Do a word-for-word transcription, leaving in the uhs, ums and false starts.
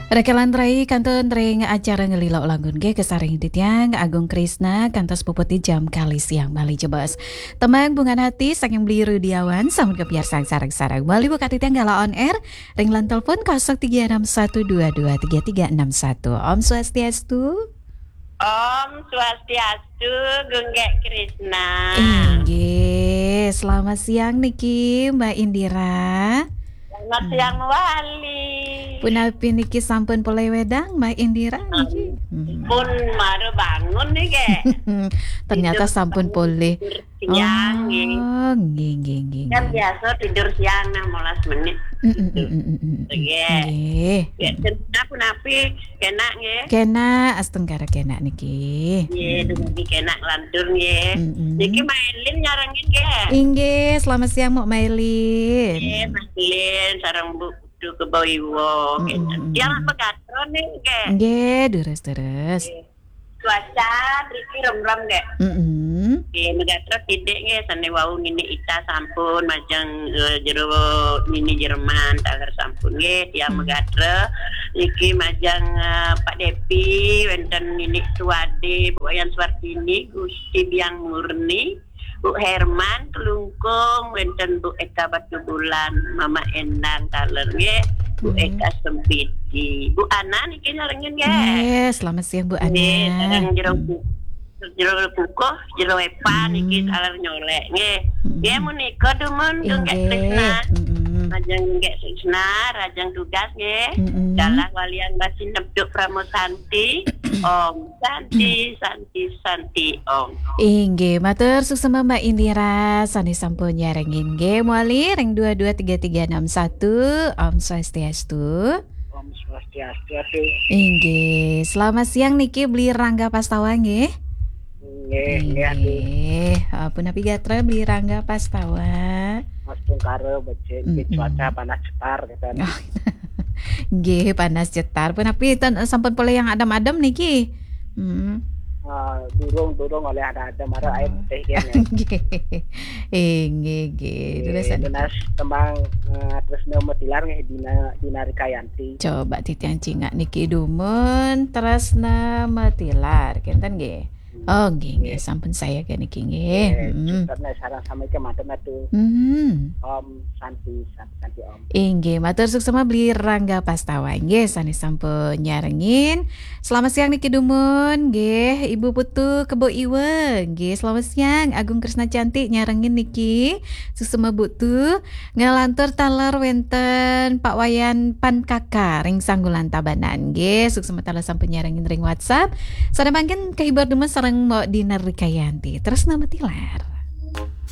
Rekan rai kantun ring acara Ngelilok Langun nggih kasarengin titiang Agung Krisna kantos puput jam kalih siang malih jebos. Tembang Bungan Hati saking Bli Rudiawan sampun kapiarsang sareng-sareng. Malih buka titiang galah on air ring line telepon kosong tiga enam satu dua dua tiga tiga enam satu. Om Swastiastu. Om Swastiastu, Gung Gék Krisna. Inggih, selamat siang niki Mbak Indira. Selamat siang mawali. Punapi niki sampun polih wedang Mbak Indira niki? Hmm. Pun mara bangun nih, Gék. Ternyata sampun polih. Siang, nggih. Oh, nggih, nggih, nggih, kan nggih. Biasa tidur siang enam belas menit. Mm, mm, gitu. Mm, mm, mm, mm. Nggih. Nggih. Ya, punapi, kenak nggih. Kenak, astungkara kenak niki. Nggih, dumugi kenak lantur nggih. Mm, mm. Niki Mailin nyarengin nggih. Inggih, selamat siang Mbok Mailin. Nggih, Mailin sareng Bu Putu Kebo Iwa. Mm, mm, mm. Tiang apa gatra nih nggih. Nggih, terus, terus. Nggih. Cuaca mriki remrem, Gék. Mm-mm. Nggih, megatra titik nggih, sane wau Nini Ita sampun majeng, eh, jero Nini Jerman, taler sampun nggih, tiang megatra. Niki majeng, eh, Pak Depi, wenten Nini Suwade, Bu Wayan Suwartini, Gusti Biang Murni, Bu Herman, Kelungkung, wenten Bu Eka Batubulan, Mama Endang, taler nggih, Bu Eka Sempidi. Bu Ana niki nyarengin nggih. Nggih, selamat siang Bu Ana. Nggih, sareng jero jero kukuh, jero epan niki taler nyolek nggih. Nggih, menika dumun Gung Gék Krisna. Majeng Gung Gék Krisna, rajang tugas nggih. Galah walian basi neptuk Pramo Santi. Om Santi, Santi, Santi, Om. Inggih, matur suksma Mbak Indira, sane sampun nyarengin nggih. Mawali ring dua dua tiga tiga enam satu. Om Swastiastu. Om Swastiastu, Atu. Inggih, selamat siang niki Bli Rangga Pastawa nggih. Nggih, nggih, Atu. Inggih. Ah, punapi gatra Bli Rangga Pastawa? Astungkara becik, cuaca panas cetar, gitu. Oh. Nggih, panas cetar. Punapi ten, sampun polih yang adem-adem niki? Hmm. Ah, durung, durung olih adem-adem, mara air putih kian ya. Nggih. Inggih, nggih. Terus, nunas tembang, eh, Tresna Matilar nggih, Dina, Dina Rikayanti. Coba titiang cingak niki dumun Tresna Matilar. Kenten nggih? Oh, nggih, nggih. Sampun saya ke niki nggih. Nggih, sareng sami kemanten Atu. Om Santi, Santi, Santi Om. Inggih, matur suksma Bli Rangga Pastawa. Nggih, sane sampun nyarengin. Selamat siang niki dumun, nggih, Ibu Putu Kebo Iwa. Nggih, selamat siang Agung Krisna Cantik nyarengin niki. Suksma Putu, ngalantur taler wenten Pak Wayan Pan Kaka ring Sanggulan Tabanan. Nggih, suksma taler sampun nyarengin ring WhatsApp. Sada mangkin kehibur dumun sareng Mbok Dina Rikayanti. Tresna Matilar.